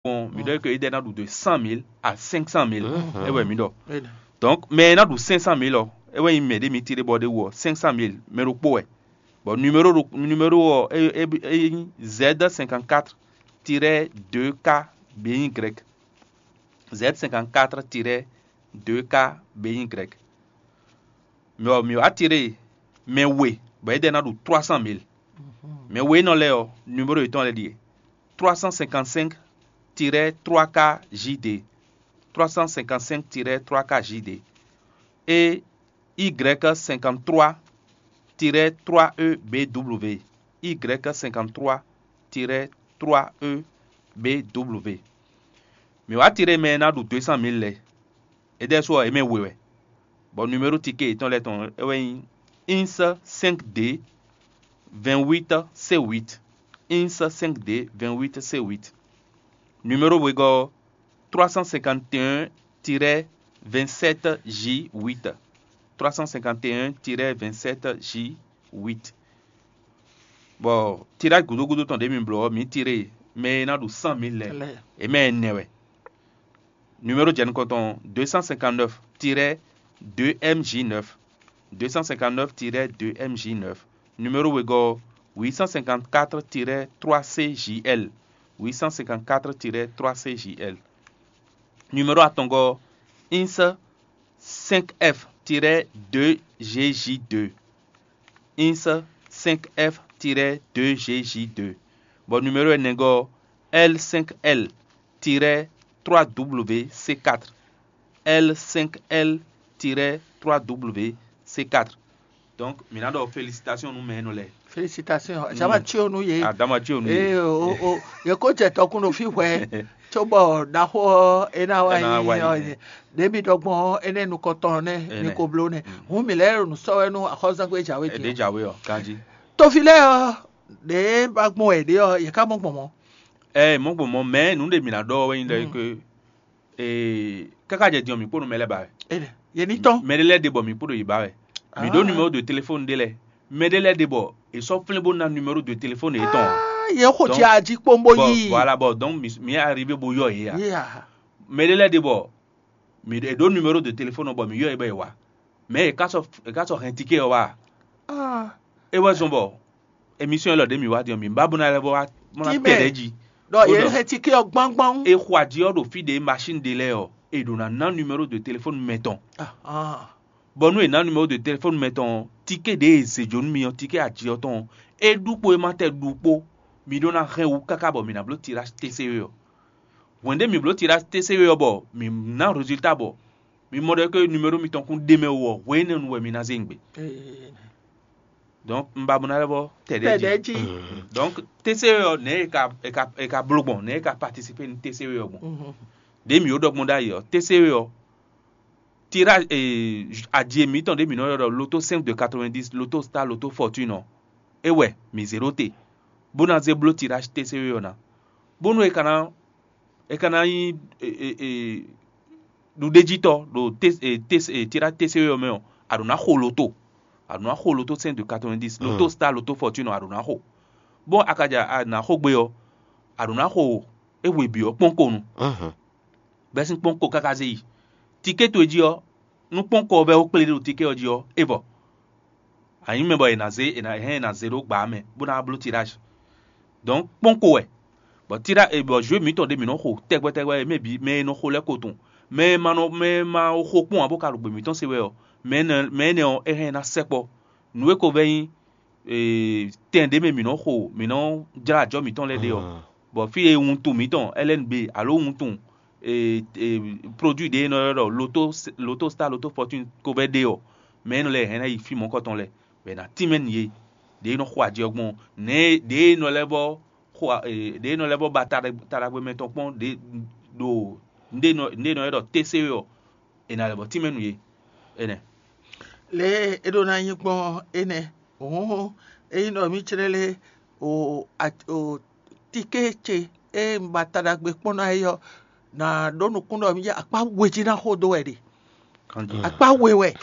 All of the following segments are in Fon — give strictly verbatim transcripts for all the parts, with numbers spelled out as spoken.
kpɔn, mi ɖɔ ke éɖɛ́ ná ɖu de cent mille à cinq cent mille. É wɛ mi ɖɔ. Donc mɛ e ná ɖu cinq cent mille ɔ́, é wɛ nyí mɛ ɖé mi tiré bɔ ɖé wú ɔ́, cinq cent mille mɛ ɖokpó wɛ. Bon, numéro ɖo numéro ɔ́, é é é nyí Z cinquante-quatre tiret deux K B Y. Z cinquante-quatre tiret deux K B Y. Mɛ ɔ́, mǐ wá tiré mɛ we bɔ éɖɛ́ ná ɖu trois cent mille. Mɛ we énɛ́ lɛ́ɛ ɔ́, numéro yětɔn lɛ́ɛ ɖíe: trois cent cinquante-cinq tiret trois K J D, trois cent cinquante-cinq tiret trois K J D, et Y cinquante-trois tiret trois E B W, Y cinquante-trois tiret trois E B W. Mǐ wá tiré mɛ e ná ɖu deux cent mille lɛ́ɛ. É ɖɛ́ su ɔ́, é mɛ we wɛ, bɔ numéro ticket yětɔn lɛ́ɛ tɔn é wɛ nyí: ins cinq D vingt-huit C huit, ins cinq D vingt-huit C huit. Numéro wegɔ́ ɔ́, trois cent cinquante et un tiret vingt-sept J huit, trois cent cinquante et un tiret vingt-sept J huit. Bɔ tirage gúdo gúdo tɔn ɖě mi bló ɔ́, mǐ tiré mɛ e ná ɖu cent mille lɛ́ɛ, é mɛ ɛnɛ wɛ. Numéro jɛ nukɔn tɔn: deux cent cinquante-neuf tiret deux M J neuf, deux cent cinquante-neuf tiret deux M J neuf. Numéro wegɔ́: huit cent cinquante-quatre tiret trois C J L, huit cent cinquante-quatre tiret trois C J L. Numéro atɔngɔ́: ins cinq F tiret deux G J deux, ins cinq F tiret deux G J deux. Bɔ numéro ɛnɛgɔ́: L cinq L tiret trois W C quatre, L cinq L tiret trois W C quatre. Donc mǐ ná ɖɔ félicitation nú mɛ énɛ́ lɛ́ɛ. Félicitation. Jama tio nú yě. Adama tio nú yě. Ee o o yě kó jɛ tɔkun ɖo fí hwɛ. Cóbɔ ɖaxó ɔ́ é ná wá nyí ɔ́, ɖě mi ɖɔ gbɔn ɔ́, énɛ́ nukɔntɔn nɛ́ mi ko bló nɛ́. Hǔn mǐ lɛ́ ɖo nǔ sɔ́ wɛ nú axɔ́zángbé jǎwe din. Jǎwe ɔ́, kanjí. Tofi lɛ́ɛ ɔ́, ɖě ba gbɔn wɛ ɖě ɔ́, yě ká mɔ gbɔn mɔ̌. Ɛ mɔ̌ gbɔn mɔ̌, mɛ nǔ ɖe mǐ ná ɖɔ wɛ nyí ɖɔ é ké ee káká jɛ din ɔ́, mǐ kpó nú mɛ lɛ́ɛ ba wɛ. Yě ní tɔ́n. Mɛ ɖé lɛ́ɛ ɖe bɔ mǐ kpó ɖo yě ba wɛ. Mǐ ɖó numéro de téléphone ɖé lɛ́ɛ. Mɛ ɖé lɛ́ɛ ɖe bɔ è sɔ́ flín bó ná numéro de téléphone yětɔn. Yě xo jí ají kpónbó yí. Voilà, bɔ donc mǐ arrivé bó yɔ yě a. Mɛ ɖé lɛ́ɛ ɖe bɔ mǐ è ɖǒ numéro de téléphone bɔ mǐ yɔ yě bɔ è wá. Mɛ e ká sɔ́ è ká sɔ́ hɛn ticket ɔ́ wá. É wɛ zɔn bɔ émission élɔ́ ɖě mǐ wá din ɔ́, mǐ ba bó ná lɛ́ bó wá bó ná tɛ ɖɛ̌ jí. Ɖɔ yě hɛn ticket ɔ́ gbángbán. È xo ají ɔ́ ɖo fí ɖě machine ɖé lɛ́ɛ ɔ́, è ɖǒ ná ná numéro de téléphone mɛ tɔn. Bɔ nú è nǎ numéro de téléphone mɛ tɔn ɔ́, ticket ɖě è zě jó nú mi ɔ́, ticket ají ɔ́ tɔn ɔ́, é ɖu kpo é ma tɛ ɖu kpo, mi ɖó ná hɛn wú káká bɔ mǐ ná bló tirage T C E ɔ́. Hwɛ̌n ɖé mǐ bló tirage T C E ɔ́ bɔ mǐ ná résultat bɔ mi mɔ ɖɔ ke numéro mitɔn kún ɖe mɛ wú ɔ́, hwenɛ́nu wɛ mi ná zé nyi gbe. Donc un ba bó ná lɛ́ bɔ tɛ ɖɛ̌ jí. Donc T C E ɔ́, nɛ̌ è ka è ka è ka bló gbɔn, nɛ̌ è ka participer nú T C E ɔ́ gbɔn? Ɖě mǐ ɖo ɖɔ gbɔn ɖ'ayǐ ɔ́, T C E ɔ́, tirage eh, aji mǐtɔn ɖě mǐ nɔ ylɔ́ ɖɔ loto cinq de quatre-vingt-dix, loto star, loto fortune ɔ́, é wɛ mǐ zé ɖó te, bó ná zé bló tirage T C E ɔ́ ná, bónú è ka ná è ka ná nyí ɖuɖéjítɔ́ ɖo tirage T C E ɔ́ mɛ ɔ́, a ɖǒ ná xo loto, a ɖǒ ná xo loto cinq de quatre-vingt-dix, loto star, loto fortune ɔ́, a ɖǒ ná xo. Bó a ka ja a nǎ xo gbe ɔ́, a ɖǒ ná xo é hwe bǐ ɔ́ kpɔ́n ko nu. Bɛ́ sín kpɔ́n ko káká zé yi. Ticket towe jí ɔ́, nú kpɔ́n ko ɔ́ vɛ́ wú kplé ɖo ticket ɔ́ jí ɔ́, é vɔ. A nyǐ mɛ bɔ è nǎ zé è nǎ hɛn è nǎ zé ɖó gbǎ mɛ bó ná wá bló tirage. Donc kpɔ́n ko wɛ, bɔ tirage bɔ jeu mǐtɔn ɖé mǐ nɔ xo tɛgbɛ tɛgbɛ, mɛ bǐ mɛ e nɔ xo lɛ́ɛ ko tunwun. Mɛ e ma nɔ mɛ e ma xo kpɔ́n ǎ bó ka ɖo gbě mǐtɔn se wɛ ɔ́, mɛ énɛ́ mɛ énɛ́ ɔ́, é hɛn ná sɛkpɔ́. Nǔ e ko vɛ́ nyí tɛn ɖě mɛ mǐ nɔ xo mǐ nɔ jlá ajɔ mǐtɔn lɛ́ɛ ɖe ɔ́, bɔ fí e wuntun mǐtɔn L N B alo wuntun produit ɖě e nɔ ylɔ́ ɖɔ loto loto star, loto fortune ko vɛ́ ɖe ɔ́, mɛ énɛ́ lɛ́ɛ hɛn ná yi fí mɔ̌kɔtɔn lɛ́ɛ, bɔ è nǎ tínmɛ nǔ yě. Ɖě e nɔ xo ajɛ ɔ́ gbɔn, nɛ̌ ɖě e nɔ lɛ́ vɔ xo ɖě e nɔ lɛ́ vɔ ba taɖagbe mɛ tɔn kpɔ́n ɖě ɖo nǔɖé nɔ nǔɖé nɔ ylɔ́ ɖɔ T C E ɔ́, è nǎ lɛ́ vɔ tínmɛ nú yě. Énɛ́. Lě e é ɖó ná nyí gbɔn énɛ́. Hǔn ényí ɖɔ mǐ clé lé o o tiké ce e un ba ta ɖagbe kpɔ́n ná é ɔ́, nǎ ɖó nukún ɖɔ mǐ jɛ akpá we jí ná xo dó wɛ ɖe. Akpá we wɛ.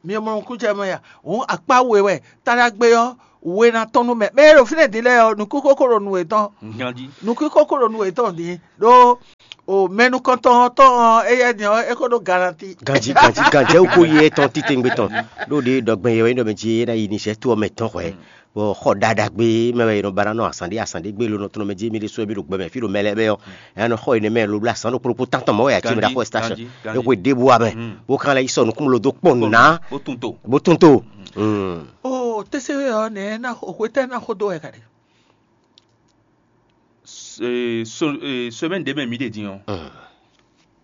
Mi mɔ nukúnnú jɛ mɛ ya. Hǔn akpá we wɛ táɖagbe ɔ́, we ná tɔ́n nú mɛ. Mɛ e ɖo fínɛ́ din lɛ́ɛ ɔ́, nukúnkókó ɖo nu yětɔn. Ganjí. Nukúnkókó ɖo nu yětɔn din ɖó o mɛ nukɔntɔn ɔ́ tɔn ɔ́, éyɛ́ din ɔ́, é ko ɖó garanti. Ganjí, ganjí, ganjí, é ko yi étɔn titewungbe tɔn. Ɖó ɖě ɖɔgbɛn yɛ wɛ nyí ɖɔ mɛ jí é ná yi Niger to ɔ́ mɛ tɔn hwɛ̌. Bɔ xɔ ɖaɖa gbé mɛ wɛ è nɔ ba ná nɔ azǎn ɖé azǎn ɖé gbé ló nɔ tɔn mɛ jí mì ɖésú wɛ mì ɖo gbɛ mɛ fí ɖo mɛ lɛ́ɛ mɛ ɔ́, è nɔ xɔ énɛ́ mɛ loblo azǎn ɖokpó ɖokpó tántɔn mɔ̌ wɛ ǎ cí mɛ ɖaxó ɛstáṣɔ. É xwe ɖěbǔ wá mɛ, bó kan lɛ́ yi sɔ nukúnmɛ ló dó kpɔn nǔ ná, bó tún to. Bó tún to. Oo, tɛ́sɛ́wé ɔ́, nɛ̌ ná xo hwetɛ́ ná xó dó wɛ ka ɖe? Semaine ɖě mɛ mǐ ɖe din ɔ́,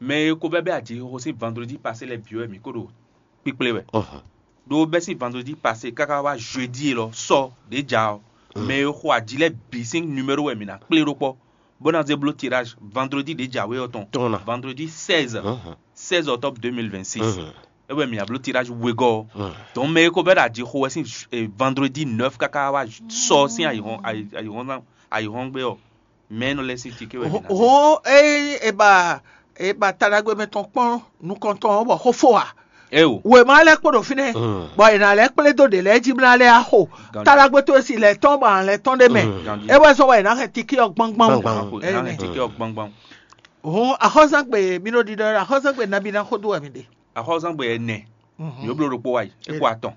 mɛ e ko vɛ́ bɛ́ ajixixo sín vandredi pasé lɛ́ɛ bǐ wɛ mǐ ko ɖo kpíkplé wɛ. Ɖó bɛ́ sín vandredi pasé káká wá jeudi élɔ́ sɔ ɖě ja ɔ́, mɛ e xo aji lɛ́ɛ bǐ sín numéro wɛ mǐ ná kplé ɖó kpɔ́, bó ná zé bló tirage vandredi ɖě jǎwe ɔ́ tɔn. Tɔn ná. Vandredi seize, seize octobre deux mille vingt-six. É wɛ mǐ ná bló tirage wegɔ́ ɔ́. Donc mɛ e ko vɛ́ ɖo aji xo wɛ sín eh, vendredi neuf káká wá sɔ sín ayǐhɔ́n ayǐ- ayǐhɔ́n ayǐhɔ́ngbe ɔ́, mɛ e nɔ lɛ́ sín tiké wɛ mǐ ná zé. Hɔn eye e ba e ba taɖagbe mɛ tɔn kpɔ́n nukɔntɔn ɔ́ bɔ xó fó a? Eo. Wěma lɛ́ kpo ɖo fínɛ́, bɔ è nǎ lɛ́ kplé dó ɖě lɛ́ɛ jí bó ná lɛ́ axo. Taɖagbe towe si lɛ̌ tɔn bɔ a lɛ̌ tɔn ɖé mɛ. Ganjí. É wɛ zɔ́n bɔ è nǎ hɛn tiké ɔ́ gbangban. Gbangban. Ko Ɛ, ná nɛ. Hɛn tiké ɔ́ gbangban. Hɔn axɔ́zán gbe mi ɖo ɖiɖɔ axɔ́zán gbe nabí ná xó dó wɛ mi ɖe. Axɔ́zán gbe ɛnɛ. Yǒ bló ɖokpó wá yi é kpo atɔn.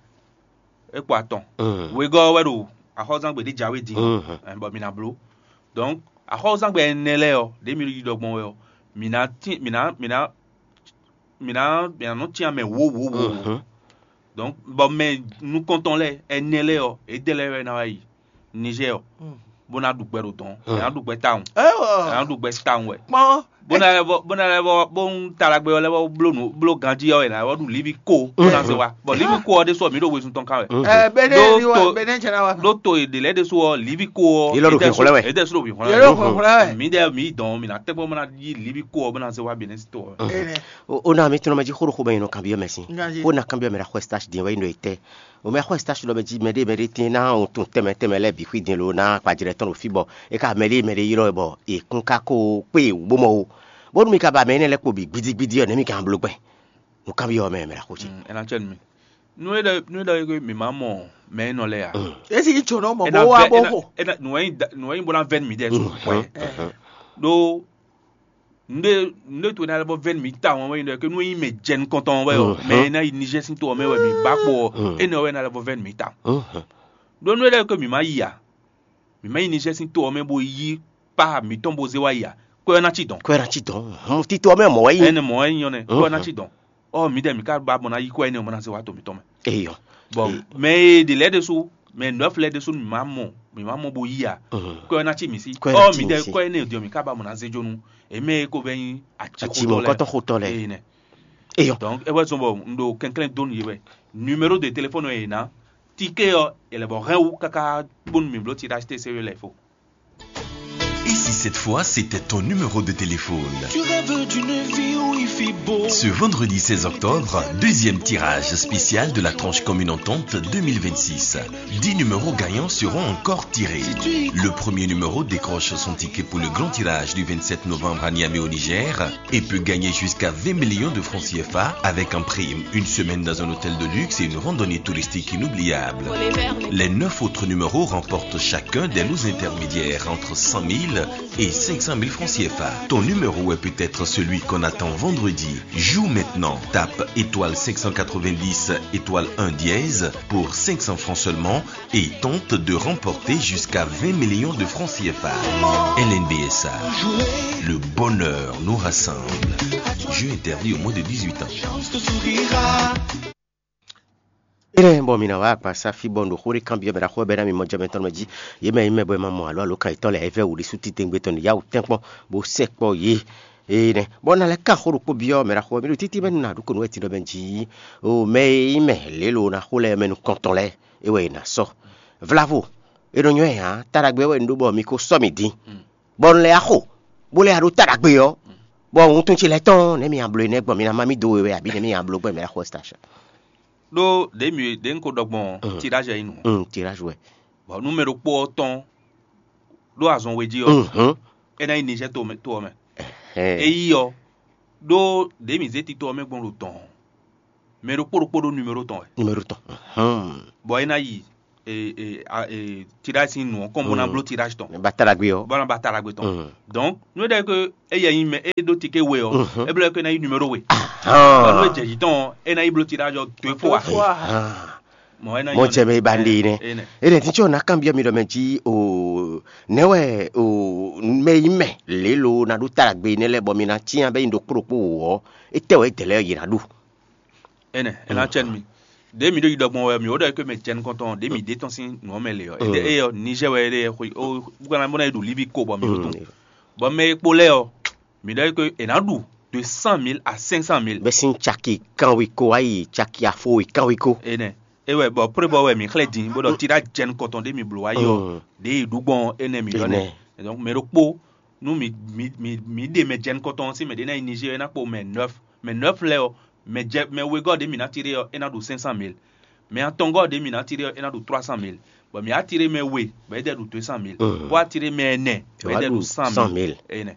É kpo atɔn. Wegɔ́ wɛ ɖo axɔ́zán gbe ɖé jǎwe din. Bɔ mi ná bló. Donc axɔ́zán gbe ɛnɛ lɛ́ɛ ɔ́ ɖě mi ɖo yi ɖɔ gbɔn wɛ ɔ́, mi ná tín mi ná mi ná mi ná mi ná nɔ tín amɛ wǒ wǒ wǒ wǒ. Donc bɔ mɛ nukɔntɔn lɛ́ɛ ɛnɛ lɛ́ɛ ɔ́, édɛ́ lɛ́ɛ wɛ ná wá yi Niger ɔ́, bó ná ɖu gbɛ ɖo dɔn, ɛ ná ɖu gbɛ tawun, ɛ ná ɖu gbɛ tawun wɛ. Kpɔn. Bó ná lɛ́ vɔ bó ná lɛ́ vɔ bó ń ta ɖagbe ɔ́ lɛ́ vɔ bló nǔ bló ganjí ɔ́, è nǎ vɔ ɖu líví ko bó ná zé wá, bɔ líví ko ɔ́ ɖésú ɔ́, mǐ ɖo wezun tɔn kan wɛ. Ɛ bɛnɛ Ɖó ni wa to- bɛnɛ jɛ na wa. Ɖó to ɖě lɛ́ɛ ɖésú ɔ́, líví ko ɔ́ Yě lɔ ɖo hwǐnxwlɛ́ wɛ. Édɛ́ sú ɖo hwǐnxwlɛ́ Yě ɖo hwǐnxwlɛ́ wɛ. Mǐ ɖɛ mǐ dɔn mǐ ná tɛ́gbɔn bó ná yí líví ko ɔ́ bó ná zé wá Benin to ɔ́. Ene. O o na mi tɔnɔ mɛ jí xó ɖo xó mɛ nyinɔ kanbyɔ́ mɛ sín. Nyazi. Xó na kanbyɔ́ mɛ ɖo axɔ stage din wɛ nyinɔ yi tɛ. O mɛ axɔ stage lɔ mɛ jí mɛ ɖé mɛ ɖé tín ná o tun tɛmɛ tɛmɛ lɛ bǐ xwí din lo ná kpajlɛ tɔn ɖo fí bɔ é ka mɛ ɖé mɛ ɖé ylɔ́ wɛ bɔ è kún ka ko kpé wǔ bó mɔ o. Bónú mi ka ba mɛ énɛ́ lɛ́ɛ kpo bǐ gbídígbídí ɔ́, nɛ̌ mi ka bló gbɛn? Nǔ kanbyɔ́ mɛ mɛ ɖo axɔ jí. Ena tsɛ nu mi. Nu e ɖɔ nu e ɖɔ e mǐ ma mɔ mɛ e nɔ lɛ a? Esi yi tsɔnɔ mɔ Ena bó wá vɛ- bó ena- xo. ena- nù wɛ nyi da- nù wɛ nyi bó ná vɛ nu mi dɛ so. Ɖó nde nde to ena lɛ bɔ vɛ nu mi ta wɔn wɛ nyi ɖɔ ke nu e nyi mɛ jɛ nukɔntɔn wɛ o mɛ e ná yi Niger sín to ɔmɛ wɛ mi ba kpo ɔ ena wɛ ena lɛ bɔ vɛ nu mi ta. Ɖó nu e ɖɔ ke mi ma yi a mi ma yi Niger sín to ɔmɛ bo yi pa mitɔn bo zé wá yi a kɔ ɛ ná ci dɔn. Kwɛ na ci dɔn. Hɔn títí ɔmɛ mɔ wɛ yi. Ɛnɛ mɔ ɛ nyɔ nɛ kɔ ɛ ná ci dɔn. Ɔ mi dɛ mi ka ba mɔ na yi kɔ ɛnɛ mɔ na zé wá to mitɔn mɛ. Eyɔ. Bɔn mɛ e ɖe lɛ ɖe so mɛ nɔf lɛ ɖe so mi ma mɔ mi ma mɔ bo yi a kɔ ɛ ná ci mi si. Kɔ ɛ ná Ɔ ci mi mi si. Dɛ kɔ ɛnɛ diɔ mi ka ba mɔ na zé jonu. Eme ko bɛ nyi Atsi atsixotɔ mɔ lɛ. Kɔtɔn xotɔ lɛ. Eye nɛ. Eyɔ. Donc e wɛ zɔn bɔ n ɖo kɛnklɛn donu ye wɛ. Numéro de téléphone e na tike ɔ ele bɔ hɛn wu kaka kponu mi blo ti da te se le fo. Et si cette fois c'était ton numéro de téléphone ? Tu rêves d'une vie où il fait beau. Ce vendredi seize octobre, deuxième tirage spécial de la tranche commune entente deux mille vingt-six. Dix numéros gagnants seront encore tirés. Le premier numéro décroche son ticket pour le grand tirage du vingt-sept novembre à Niamey au Niger et peut gagner jusqu'à vingt millions de francs C F A avec en prime une semaine dans un hôtel de luxe et une randonnée touristique inoubliable. Les neuf autres numéros remportent chacun des lots intermédiaires entre cent mille et cinq cent mille francs C F A. Ton numéro est peut-être celui qu'on attend vendredi. Joue maintenant. Tape étoile cinq cent quatre-vingt-dix étoile un dièse pour cinq cents francs seulement et tente de remporter jusqu'à vingt millions de francs C F A. L N B S A, le bonheur nous rassemble. Jeu interdit au moins de dix-huit ans. Ene bɔ mi na wa akpa safi bɔ ndo xore kan biɔ bɛ da xɔ bɛ na mi mɔ jɛmɛ tɔn mɛ ji ye mɛ yi mɛ bɔ ma mɔ alo alo kan itɔ lɛ evɛ wuli su titengbe tɔn ya wutɛnkpɔ bo sɛ kpɔ ye. Ene bɔ na lɛ kan xoro kpo biɔ mɛ da xɔ mi do titi mɛ na du ko no eti dɔ mɛ ji o mɛ yi mɛ lelo na xo lɛ mɛ nu kɔntɔn lɛ e wɛ na sɔ vlavo e nɔ nyɔ ya ta dagbe wɛ ndo bɔ mi ko sɔ mi din bɔ un lɛ axo bo lɛ aɖo ta dagbe ɔ bɔ wuntun ce lɛ tɔn ne mi ablo ne gbɔn mi na ma mi do we wɛ abi ne mi ablo gbɔn mi axo station. Ɖó ɖě mi ɖě un ko ɖɔ gbɔn tirage ɔ́ nyí nǔ. Un tirage wɛ. Bɔ nú mɛ ɖokpó ɔ́ tɔn ɖó azɔn we jí ɔ́, é ná nyí Niger to ɔ́ mɛ. É yí ɔ́, ɖó ɖě mi zé tito ɔ́ mɛ gbɔn ɖo dɔ̌n. mɛ ɖokpó ɖokpó ɖó numéro tɔn wɛ. Numéro tɔn. Bɔ é ná yi tirage sín nǔ ɔ́ kɔn bó ná bló tirage tɔn. Ba ta ɖagbe ɔ. Bó ná ba ta ɖagbe tɔn. Donc nú é ɖɔ é ke é yɛ nyi mɛ é ɖó tike we ɔ, é bló é ke ná yi numéro we. Bɔ nú é jɛ jǐ tɔn ɔ́, é ná yi bló tirage ɔ deux fois. Mɔ é ná yi. Mɔ jɛ mɛ ba ɖe nɛ. Enɛ tí tsɔ ná kanbyɔ́ mi ɖɔ mɛ jí o nɛ́ wɛ o mɛ yi mɛ lě lo ná ɖó ta ɖagbe nɛ́ lɛ́ɛ bɔ mi ná cyán bɛ́ nyi ɖokpó ɖokpó wǒ ɔ́, étɛ́ wɛ é dɛ lɛ́ɛ yě ná ɖu. Enɛ é ná cɛ nú mi. Ɖě mi ɖo yi ɖɔ gbɔn wɛ mi wǒ ɖɔ é ke mɛ jɛ nukɔntɔn ɖě mi ɖe tɔn sín nǔ ɔ́ mɛ le ɔ́, étɛ́ é ɔ́ Niger wɛ é ɖe xwe ó bó ná bó ná yi ɖo Libi ko bɔ mi ɖo tɔn. Bɔ mɛ e kpo lɛ́ɛ ɔ́, mi ɖɔ é ke è nǎ ɖu de cent mille à cinq cent mille. Bɛ sín caki kanwe ko wá yi caki afo e kanwe ko. Enɛ é wɛ bɔ pré bɔ wɛ mi xlɛ́ din bó ɖɔ tirage jɛ nukɔntɔn ɖě mi bló wá yi ɔ́, ɖě yi ɖu gbɔn énɛ́ mi ɖɔ nɛ. Donc mɛ ɖokpó nú mi mi mi mi ɖe mɛ jɛ nukɔntɔn sín mɛ ɖě ná yi Niger é ná kpo mɛ neuf. Mɛ neuf lɛ́ɛ ɔ́, mɛ jɛ mɛ wegɔ́ ɖě mi ná tiré ɔ́, é ná ɖu cinq cent mille. Mɛ atɔngɔ́ ɖě mi ná tiré ɔ́, é ná ɖu trois cent mille. Bɔ mi á tiré mɛ we, bɔ é ɖɛ ɖu deux cent mille. Bó á tiré mɛ ɛnɛ, bɔ é ɖɛ ɖu cent mille. Enɛ.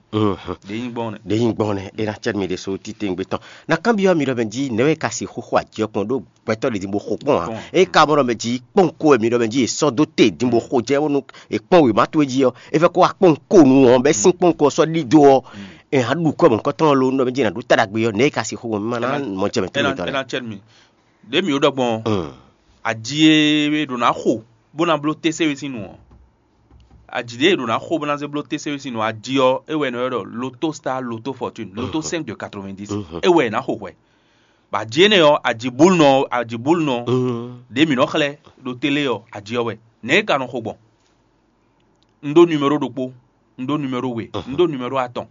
Ɖě nyí gbɔn nɛ. Ɖě nyí gbɔn nɛ, é ná cɛ mi ɖésú titewungbe tɔn. Na kanbyɔ́ mi ɖɔ mɛ jí nɛ̌ wɛ ka sixú xo ajɛ kpɔn ɖó gbɛtɔ́ ɖě din bó xo kpɔ́n ǎ. É ka mɔ ɖɔ mɛ jí kpɔ́nko wɛ mi ɖɔ mɛ jí è sɔ́ dó te din bó xo jɛ bónú è kpɔ́n wěma towe jí ɔ́, é fɛ́ kó wá kpɔ́nko nu ɔ́, bɛ́ sín kpɔ́nko ɔ́ sɔ́ ɖidó ɔ́, è hǎ ɖu kɔ́ mɔ̌hunkɔtɔn ɔ́ lo nú ɖɔ mɛ jí è nǎ ɖó ta ɖagbe ɔ́, nɛ̌ è ka sixú xo mɛ má ná mɔ jɛ mɛ tɛ́ mitɔn lɛ́ɛ. Ɖě mǐ ɖɔ gbɔn ɔ́, aji e è ɖǒ ná xo bó ná bló T C E sín nu ɔ́, aji ɖě è ɖǒ ná xo bó ná zé bló T C E sín nu ɔ́, aji ɔ́, é wɛ è nɔ ylɔ́ ɖɔ Lotto Star Lotto Fortune, Lotto cinq de quatre-vingt-dix. É wɛ è nǎ xo hwɛ. Bɔ aji énɛ́ ɔ́, aji búlnɔ aji búlnɔ ɖě mǐ nɔ xlɛ́ ɖo télé ɔ́, aji ɔ́ wɛ. Nɛ̌ é ka nɔ xo gbɔn? Un ɖó numéro ɖokpó, un ɖó numéro we, un ɖó numéro atɔn.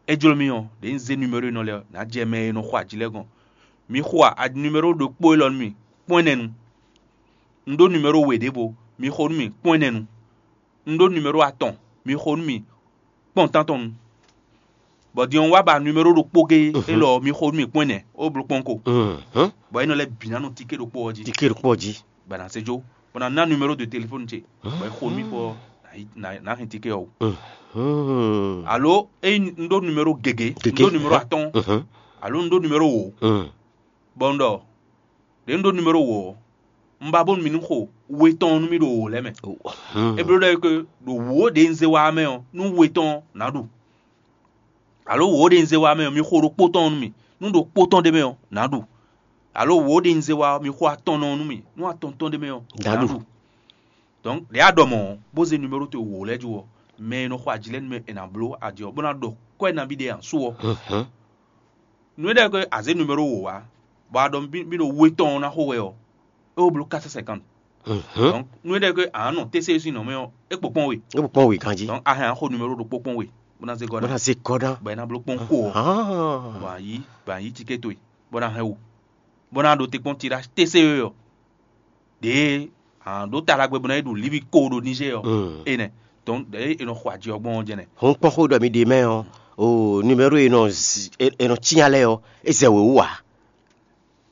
É jló mì ɔ́, ɖě un zé numéro énɛ́ lɛ́ɛ ɔ́, nǎ jɛ mɛ e nɔ xo aji lɛ́ɛ gɔ́n. Mi xo a numéro ɖokpó élɔ́ nú mì kpɔ́n ɛnɛ nu. Un ɖó numéro we ɖěvo, mi xo nú mì kpɔ́n ɛnɛ nu. Un ɖó numéro atɔn, mi xo nú mì kpɔ́n tántɔn nu. Bɔ din ɔ́ wá ba numéro ɖokpó géé élɔ́ ɔ́, mi xo nú mì kpɔ́n ɛnɛ, ó bló kpɔ́n ko. Bɔ é nɔ lɛ́ bǐ ná nɔ tiké ɖokpó ɔ́ jí. Tiké ɖokpó ɔ́ jí. Bɔ è nǎ zé jó, bɔ ná ná numéro de téléphone ce, bɔ é xo nú mì kpɔ́ ná hɛn tiké ɔ́ wú. Alo ényí un ɖó numéro gěgé, un ɖó numéro atɔ́ɔ́n, alo un ɖó numéro wǒ, bɔ un ɖɔ ɖě un ɖó numéro wǒ ɔ́, un ba bónú mi ní xo we tɔn ɔ́ nú mì ɖo wǒ lɛ́ɛ mɛ. É bló ɖɔ é ke ɖo wǒ ɖě un zé wá ɔ́ mɛ ɔ́, nú we tɔn ɔ́, nǎ ɖu. Alo wǒ ɖě un zé wá mɛ ɔ́, mi xo ɖokpó tɔn ɔ́ nú mì. Nú ɖokpó tɔn ɖ'é mɛ ɔ́, nǎ ɖu. Alo wǒ ɖě un zé wá ɔ́, mi xo atɔn nɔ ɔ́ nú mì. Nú atɔn tɔn ɖ'é mɛ ɔ́, nǎ ɖu. Donc ɖě a ɖɔ mɔ̌ ɔ́, bó zé numéro towe wǒ lɛ́ɛ jó ɔ́, mɛ e nɔ xo aji lɛ́ɛ nú mɛ è nǎ bló aji ɔ́, bó ná ɖɔ kwɛ́ nabí ɖé ǎ su ɔ́. Nú é ɖɔ ke a zě numéro wǒ wá, bɔ a ɖɔ mì ɖo we tɔn ɔ́ ná xo wɛ ɔ́, é wó bló quatre cent cinquante. Donc nú é ɖɔ ke a nɔ T C E sín nɔ mɛ ɔ́, é kpo kpɔ́n we. É kpo kpɔ́n we ganjí. Donc a hɛn a xo numéro ɖokpó kpɔ́n we, bó ná zé gɔ́ ná. Bó ná zé gɔ́ ná. Bɔ é ná bló kpɔ́n ko ɔ́, bɔ a yí bɔ a yí ticket towe, bó ná hɛn wú, bó ná ɖo te kpɔ́n tirage T C E ɔ́. Ɖě a ɖǒ ta ɖagbe bó ná yi ɖu líví ko ɖo Niger ɔ́, enɛ. Donc ɖě è nɔ xo aji ɔ́ gbɔn ɔ́ jɛnɛ. Hɔn kpɔ́n xó ɖɔ mi ɖe mɛ ɔ́, o numéro e nɔ zi- e e nɔ cyán lɛ́ɛ ɔ́, é zɛ wě wú ǎ.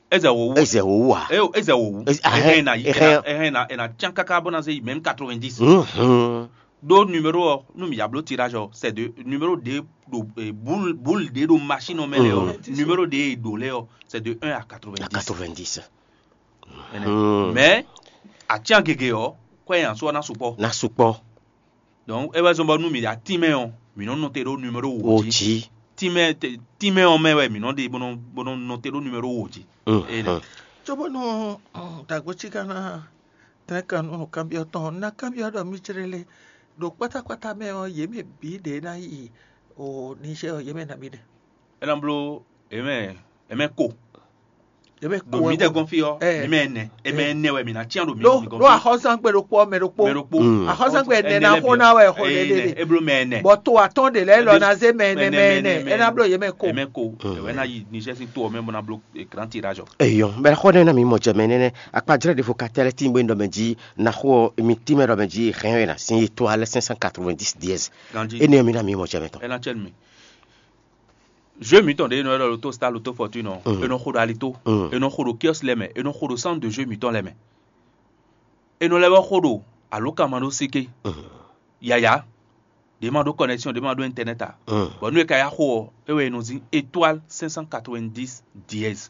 É zɛ wǒ wú. É zɛ wě wú ǎ. É é zɛ wǒ wú. É- ahɛn- Ehɛn na yi ehɛn- ehɛn na ehɛn na cyán káká bó ná zé yi même quatre-vingt-dix. Mhm. Ɖó numéro ɔ́, nú mi ya bló tirage ɔ́, c'est de numéro ɖé ɖo eh, boule boule ɖé ɖo machine ɔ́ mɛ lɛ ɔ́, numéro ɖé e ɖo lɛ ɔ́, c'est de un à quatre-vingt-dix. Quatre-vingt-dix. Ɛnɛ. Mais atían gěgé ɔ́, kwɛ nyi asú ɔ́ ná sukpɔ́. Ná sukpɔ́. Donc é wɛ zɔ́n bɔ nú mǐ ɖo atínmɛ ɔ́, mǐ nɔ nɔte ɖó numéro wǒ jí. Tínmɛ tínmɛ ɔ́ mɛ wɛ mǐ nɔ ɖe bó nɔ bó nɔ nɔte ɖó numéro wǒ jí. Enɛ. Cóbónú dǎgbócí ka ná tɛ́n kan nú nǔkanbyɔ́ tɔn ɔ́, ná kanbyɔ́ ɖɔ mí jlé lé ɖo kpátákpátá mɛ ɔ́, yě mɛ bǐ ɖě ná yi o Niger ɔ́, yě mɛ nabí ɖe. É ná bló é mɛ é mɛ ko. Yě mɛ ko. Ɖo mǐdɛɛ gɔ́n fí ɔ́, mǐ mɛ ɛnɛ, é mɛ ɛnɛ wɛ mǐ ná cyán ɖo mǐ ɖó ɖó axɔ́sángbé ɖokpó ɔ́ mɛ ɖokpó. Mɛ ɖokpó. Axɔ́sángbé ɛnɛ ná xó ná wɛ xɔ ɖeɖe. É bló mɛ ɛnɛ. Bɔ to atɔ́ ɖe lɛ́ɛ lɔ ná zé mɛ ɛnɛ mɛ ɛnɛ, é ná bló yě mɛ ko. É mɛ ko. Wɛ ná yi Niger sín to ɔ́ mɛ bó ná bló grand tirage ɔ́. Eyɔn, bɛ xɔ ɖe na mi mɔ jɛ mɛ nɛnɛ. Akpajlɛ ɖe fo katɛlɛ tin bwe ndɔ mɛ ji na xɔ mi tin mɛ ɖɔ mɛ ji hɛn wɛ na sin yi to alɛ cinq cent quatre-vingt-dix dièse. Ganji. Ene mi na mi mɔ jɛ mɛ tɔn. Ena cɛ mi. Jeu mitɔn ɖe nɔ lɔ loto star loto fortune ɔ, enɔ xo ɖo alito, enɔ xo ɖo kiosque lɛ mɛ, enɔ xo ɖo centre de jeu mitɔn lɛ mɛ. Enɔ lɛ bɔ xo ɖo alo kama ɖo sike. Yaya. Ɖě ma ɖó connexion, ɖě ma ɖó internet a. Bɔ nú e ka ya xo ɔ, é wɛ è nɔ zin étoile cinq cent quatre-vingt-dix dièse.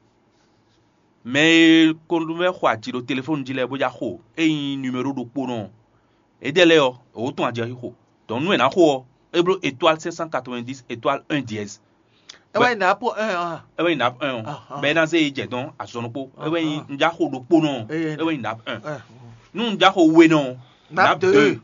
Mɛ e ko ɖo vɛ́ xo aji ɖo telefɔni jí lɛ́ɛ bó já xo é nyí numéro ɖokpónɔ ɔ́, éɖɛ́ lɛ́ɛ ɔ́, è wǒ tɔn ajɛ xixo. Donc nú è nǎ xo ɔ́, é bló étoile cinq cent quatre-vingt-dix étoile un dièse. É wɛ nyí nǎ po un a. É wɛ nyí nǎ un ɔ́. Bɛ́ é ná zé yi jɛ dɔn azɔn ɖokpó. É wɛ nyí un já xo ɖokpónɔ ɔ́. É wɛ nyí nǎ un. Nú un já xo wenɔ ɔ́, nǎ deux.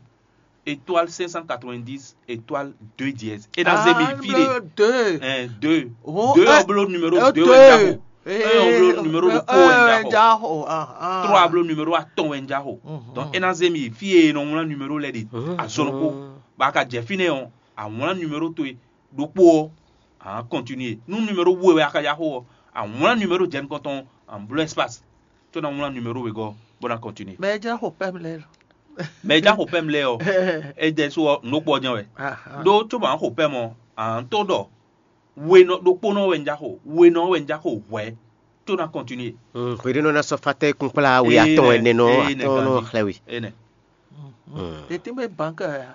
Étoile cinq cent quatre-vingt-dix étoile deux dièse. É ná zé mi fí ɖe. Deux. Un deux. Oh, Deux eh, ɔ́ bló numéro eh, deux wɛ un já xo. Eh, Un ɔ́ bló numéro ɖokpó wɛ un já xo. já xo. Ah, ah. Trois bló numéro atɔn wɛ un já xo. Mhm. Donc é ná zé mi fí e nɔ wlán numéro lɛ́ɛ ɖe azɔn ɖokpó. Ba ka jɛ fínɛ́ ɔ́, a wlán numéro towe ɖokpó ɔ́, a nǎ continuer. Nú numéro we wɛ a ka já xo ɔ́, a wlán numéro jɛ nukɔn tɔn, a nǎ bló espace, có ná wlán numéro wegɔ́ bó ná continuer. Mɛ e jlá xo pɛ́m lɛ́ɛ. Mɛ e já xo pɛ́m lɛ́ɛ ɔ́, é jɛ sú ɔ́, nǔ ɖokpó ɔ́ jɛ́n wɛ. Ah, ah. Ɖó có ma xo pɛ́m ɔ́, a nǎ tó ɖɔ wenɔ ɖokpónɔ wɛ un já xo, wenɔ wɛ un já xo hwɛ̌, có ná continuer. Hweɖénɔ ná sɔ́ fátɛ́ kún kplá we atɔ́n ɛnɛ nɔ Ee, nɛ atɔ́n nɔ ganjí. Xlɛ́ we. Enɛ. Te tɛ́n bɛ banka ya.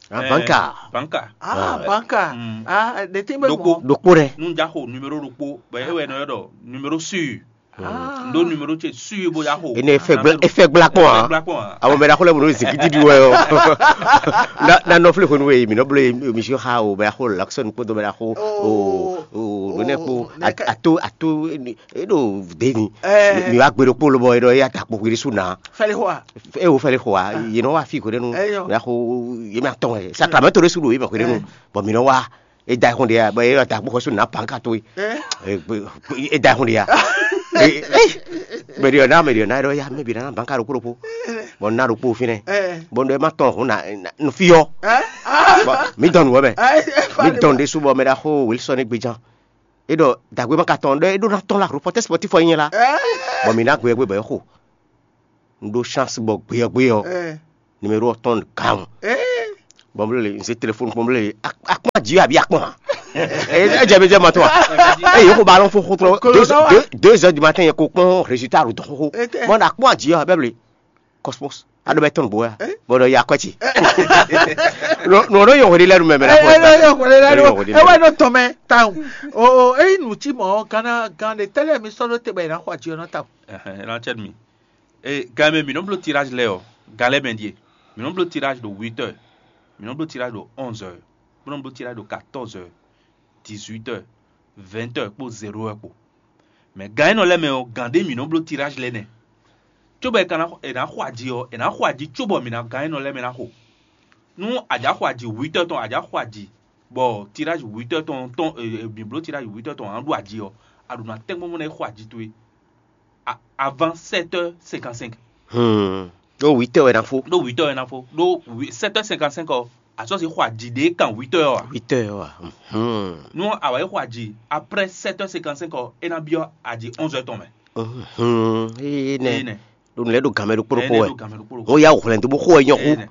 Abanka. Banka. Ah, Eh, banka. Mm. Ah, te tɛ́n bɛ Ɖokpó. mɔ. Ɖokpó ɖɛ. Nú un já xo numéro ɖokpó, bɔ é wɛ nɔ ylɔ́ ɖɔ numéro sûr. Ah. Ɖó numéro ce sûr bó já xo. Ene fɛ gbla efɛ gbla kpɔn a. Gbla kpɔn a. Àwọn mɛ ɖaxó lɛ bɔ nɔ zikiti ɖi wɛ ɔ. Na na nɔ fle hwenu e mi nɔ blo mi si xa o bɛ xo laksɔn kpódó bɛ xo o o lónɛ kpó nɛkɛ. Ato ato e ɖo deni. Eh. Mi wa gbe ɖokpó lobɔ e ɖɔ ya ta kpo hwiri su na. Fɛli xɔ a. E wo fɛli xɔ a. Ye nɔ wa fi hwenu. Eyɔ. Ya xo ye mi atɔn ɛ. Sacramento ɖe su ɖo ye ma hwenu. Bɔn mi nɔ wa e da xɔ de ya bɔ e ɖɔ ta kpo xɔ su na panka to ye. Eh. E da xɔ de ya. Mɛ ɖiɔ na mɛ ɖiɔ na ɖɔ ya mɛ bi na banka ɖokpó ɖokpó. Bɔn na ɖokpó fínɛ. Eh. Bɔn ɖɔ e ma tɔn hun na nu fi yɔ. Eh. Ah. Bɔn mi dɔn nu wɛ mɛ. Eh. Mi dɔn ɖe su bɔ mɛ ɖa xo Wilson gbedjan. É ɖɔ dǎgbé ma ka tɔn ɖɔ é ɖó ná tɔn la reporter sportif ɔ́ nyɛ la. Bɔ mǐ ná gbe ɔ́ gbe bɔ é xo. Un ɖó chance bɔ gbe ɔ́ gbe ɔ́ numéro ɔ́ tɔn gawun. Bɔn blé un se téléphone kpɔn blé akpɔn aji abi akpɔn ha. Ɛ jɛ mi jɛ ma tɔn a. Ɛ yɛ ko ba lɔn fo xotɔ deux heures du matin yɛ ko kpɔn résultat ro dɔn xo. Mɔ na akpɔn aji ɔ bɛ blé. Cosmos aɖo bɛ tɔn bo ya bɔ ɖɔ ya kɔ ci. Nɔ ɖo yɔ hwele lɛ nu mɛ mɛ na fɔ. Ɛ wɛ ɖo tɔn mɛ tawun. O eyi nu ci mɔ gana gan de tɛlɛ mi sɔ ɖo te bɛ yi na xɔ aji ɔ nɔ tawun. Ɛhɛn, ena cɛ mi. E gan mɛ mi nɔ bló tirage lɛ ɔ, gan lɛ mɛ ɖie. Mi nɔ bló tirage ɖo huit heures, mi nɔ bló tirage ɖo onze heures, mi nɔ bló tirage ɖo quatorze heures, dix-huit heures, vingt heures kpó zéro heure kpó. Mɛ gan énɔ lɛ mɛ ɔ, gan ɖé mi nɔ bló tirage lɛ nɛ. Cóbɔ è ka ná è nǎ xɔ aji ɔ, è nǎ xɔ aji cóbɔ mi ná gan énɔ lɛ mɛ ná xo. Nú a jǎ xɔ aji huit heures tɔn, a jǎ xɔ aji bɔ tirage huit heures tɔn tɔn, mi bló tirage huit heures tɔn a nǎ ɖu aji ɔ, a ɖo ná tɛ́nkpɔ́n bó ná yi xɔ aji towe avant sept heures cinquante-cinq. Hmm. Ɖó huit heures wɛ ná fó. Ɖó huit heures wɛ ná fó. Ɖó sept heures cinquante-cinq ɔ, a sɔ́ si xɔ aji ɖě kan huit heures ɔ a? Huit heures wɛ. Hmm. Nú a wǎ yi xɔ aji après sept heures cinquante-cinq ɔ, é ná byɔ́ aji onze heures tɔn mɛ. Hmm. Éé nɛ. Ɖó nǔ lɛ́ɛ ɖo gǎn mɛ ɖokpó ɖokpó wɛ. Wọ́n yá wò hwlɛ̌n dó bó xo wɛ nyɔ́ xú.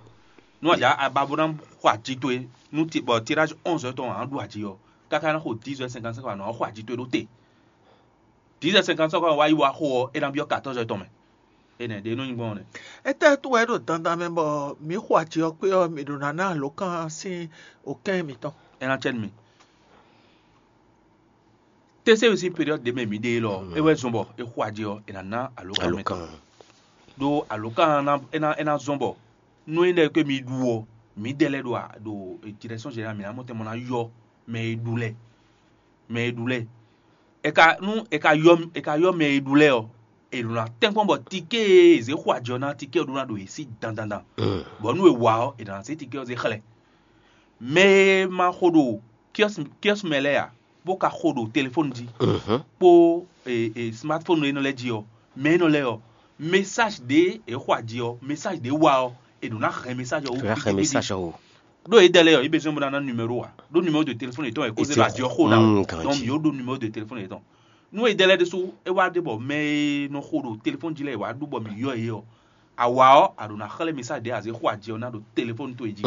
Nú a jǎ a ba bó ná xɔ aji towe nú ti bɔ tirage onze heures tɔn a nǎ ɖu aji ɔ́, káká ná xo dix heures cinquante-cinq ɔ, a nǎ xɔ aji towe ɖó te. Dix heures cinquante-cinq ɔ wá yi wá xo ɔ́, é ná byɔ́ quatorze heures tɔn mɛ. Énɛ́ ɖě nɔ nyí gbɔn nɛ́. Étɛ́ wú wɛ é ɖo dandan mɛ bɔ mǐ xo aji ɔ́ kpé ɔ́, mǐ ɖo ná ná alǒkan sín okɛ́n mǐtɔn? É ná cɛ nú mì. Tɛ́sɛ́wǔ sín période ɖě mɛ mǐ ɖe élɔ́, é wɛ zɔn bɔ è xo aji ɔ́, è nǎ ná alǒkan mɛ tɔn. Ɖó alǒkan ná é ná é ná zɔn bɔ nú é ɖɔ ke mi ɖu ɔ́, mǐdɛɛ lɛ́ɛ ɖo a- ɖo direction générale mǐ ná mɔ tɛn mɔ ná yɔ mɛ e ɖu lɛ́ɛ. Mɛ e ɖu lɛ́ɛ. È ka nú è ka yɔ è ka yɔ mɛ e ɖu lɛ́ɛ ɔ́, è ɖo ná tɛ́nkpɔ́n bɔ tikée e è zě xo ajɔ ná tikée ɔ́ ɖó ná ɖo yě sí dandandan. Bɔ nú è wa ɔ́, è nǎ zé tikée ɔ́ zé xlɛ́. Mɛ e ma xo ɖo kiɔ́si kiɔ́si mɛ lɛ́ɛ ǎ, bó ka xo ɖo telefɔ́ni jí kpó e, e, smartphone e nɔ lɛ́ jí ɔ́, mɛ e nɔ lɛ́ ɔ́, message ɖě è xo aji ɔ́, message ɖě wa ɔ́, è ɖǒ ná hɛn message ɔ́ wú. Hɛn message ɔ́ wú. Ɖó yědɛɛ lɛ́ɛ ɔ́, yě besoin bó ná ná numéro ǎ. Ɖó numéro de téléphone yětɔn wɛ kó zé ɖo aji ɔ́ xo ná o. Donc yě ɖó numéro de téléphone yětɔn. Nú yědɛɛ lɛ́ɛ ɖésú é wá ɖe bɔ mɛ e nɔ xo ɖo telefɔ́ni jí lɛ́ɛ è wá ɖu bɔ mǐ yɔ yě ɔ́, a wa ɔ́, a ɖǒ ná xlɛ́ message ɖě a zě xo aji ɔ́ ná ɖo telefɔ́ni towe jí.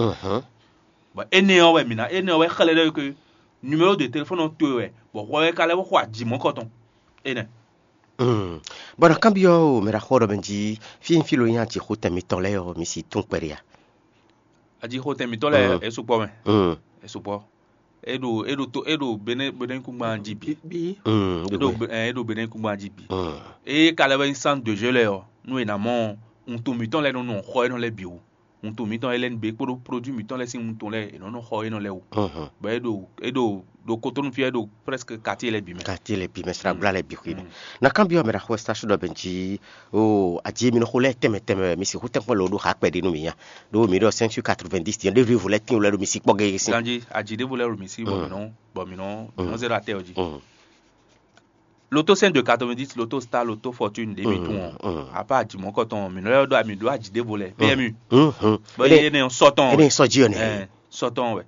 Bɔ énɛ́ ɔ́ wɛ mǐ ná énɛ́ ɔ́ wɛ xlɛ́ ɖɔ ke numéro de téléphone ɔ́ towe wɛ, bɔ hwɛ wɛ ka lɛ́ bó xo aji mɔ̌kɔtɔn. Énɛ́. Bɔ na kanbyɔ́ o mɛ ɖaxó ɖɔ mɛ jí fí fí lo nyí ajixo tɛn mitɔn lɛ́ɛ ɔ́, mi si tún kpɛɖé a? Ajixo tɛn mitɔn lɛ́ɛ é sukpɔ́ mɛ. É sukpɔ́. É ɖo é ɖo to é ɖo Benin Benin kúngban jí bǐ. É ɖo é ɖo Benin kúngban jí bǐ. É ka lɛ́ wɛ nyí centre de jeu lɛ́ɛ ɔ́, nú è nǎ mɔ wuntun mǐtɔn lɛ́ɛ nɔ nɔ xɔ énɔ́ lɛ́ɛ bǐ wú. Wuntun mǐtɔn Hélène B kpódó produit mǐtɔn lɛ́ɛ sín wuntun lɛ́ɛ è nɔ nɔ xɔ énɔ́ lɛ́ɛ wú. Bɔ é ɖo é ɖo ɖo Cotonou fí é ɖo presque quartier lɛ́ɛ bǐ mɛ. Quartier lɛ́ɛ bǐ mɛ srabla lɛ́ɛ bǐ xwé mɛ. Na kanbyɔ́ mɛ ɖaxó station ɖɔ bɛn jí o aji e mi nɔ xo lɛ́ɛ tɛnmɛ tɛnmɛ wɛ mi sixú tɛnkpɔ́n lɔ ɖó xa kpɛɖé nú mi nya. Ɖó mi ɖɔ cinq sur quatre-vingt-dix tiɲɛ ɖévlu evo lɛ́ɛ tín lɛ́ɛ ɖo mi sí kpɔ́ gégé sín. Ganji aji ɖévo lɛ́ɛ ɖo mi sí bɔ mi nɔ bɔ mi nɔ mi nɔ zé ɖo atɛ ɔ jí. Loto cinq de quatre-vingt-dix, Loto Star, Loto Fortune ɖě mi tún ɔ́, apa aji mɔ̌kɔtɔn mi nɔ lɛ́ ɖɔ mi ɖó aji ɖěvo lɛ́ɛ P M U. Bɔ ye ne sɔ tɔn Ene sɔ jí ɔ nɛ. Ɛɛ, sɔ tɔn wɛ.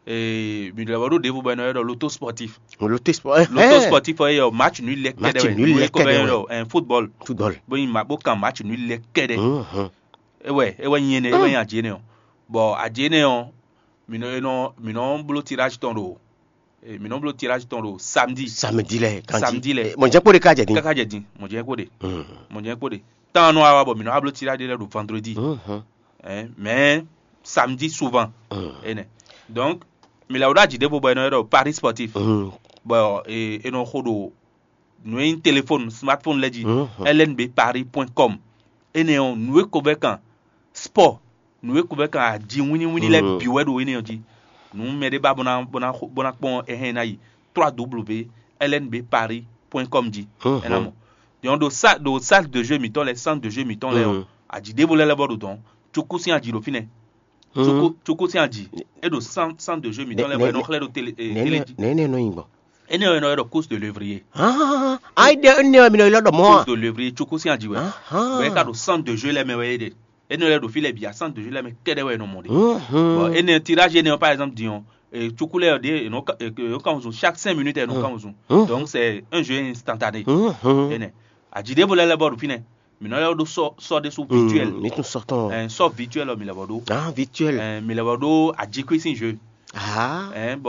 Ee, mi ɖɔ ɖo ɖěvo bɔ e nɔ ylɔ́ ɖɔ Loto Sportif. Loto sport. Loto Sportif ɔ yɛ match nul lɛ kɛɖɛ wɛ. Nul lɛ kɛɖɛ wɛ. Ɛɛ, football. Football. Bó yin ma bó kan match nul lɛ kɛɖɛ. Ewɛ ewɛ nyi ene ewɛ nyi aji ene ɔ. Bɔ aji ene ɔ, mi nɔ mi nɔ bló tirage tɔn ɖo mi nɔ bló tirage tɔn ɖo samedi. Samedi lɛ kanji. Samedi lɛ. Mɔjɛ kpo de ka jɛ din. Kaka jɛ din mɔjɛ kpo de. Mɔjɛ kpo de. Tan nɔ awa bɔ mi nɔ ablo tirage lɛ ɖo vendredi. Mais samedi souvent. Ene. Donc mi la wo ɖo aji ɖe bo bɔ e nɔ ylɔ́ ɖɔ Paris Sportif. Bɔ e nɔ xo ɖo nǔ e nyí téléphone smartphone lɛ́ɛ jí. L N B Paris point com. Énɛ́ ɔ́, nǔ e ko vɛ́ kan sport, nǔ e ko vɛ́ kan aji wínníwínní lɛ́ɛ bǐ wɛ ɖo énɛ́ ɔ́ jí. Nǔ mɛ ɖé ba bó ná bó ná bó ná kpɔ́n ɛhɛn ná yi trois W L N B Paris point com jí. É ná mɔ. Yɔn ɖo sa ɖo salle de jeu mǐtɔn lɛ́ɛ, centre de jeu mǐtɔn lɛ́ɛ ɔ́, aji ɖěvo lɛ́ɛ lɛ́ vɔ ɖo dɔn. Cuku sín aji ɖo fínɛ́. Cuku cuku sín aji. É ɖo centre centre de jeu mǐtɔn lɛ́ɛ bɔ é nɔ xlɛ́ ɖo télé télé jí. Nɛ̌ nɛ nɔ nyi gbɔn? Énɛ́ ɔ́ è nɔ ylɔ́ ɖɔ course de lévrier. Ayi ɖe énɛ́ ɔ́ mi nɔ ylɔ́ ɖɔ mɔ̌ a? Course de lévrier cuku sín aji wɛ. Bɔ é ka ɖo centre de jeu lɛ́ɛ mɛ wɛ é ɖe. Énɛ́ lɛ́ɛ ɖo fí lɛ́ɛ bǐ a centre de jeu lɛ́ɛ mɛ kɛ́ɖɛ́ wɛ è nɔ mɔ ɖe. Bɔ énɛ́ tirage énɛ́ ɔ́ par exemple din ɔ́, Cuku lɛ́ɛ ɖě è nɔ kan wǔzun, chaque cinq minutes è nɔ kan wǔzun. Donc c'est un jeu instantané. Énɛ́, aji ɖěvo lɛ́ɛ lɛ́ bɔ ɖo fínɛ́, mǐ nɔ lɛ́ ɖó sɔ sɔ ɖésú virtuel. Mi tún sɔ tɔn. Sɔ virtuel ɔ mǐ lɛ́ bɔ ɖó. Ah, virtuel. Mǐ lɛ́ bɔ ɖó ajikui sín jeu. Ah. Bɔ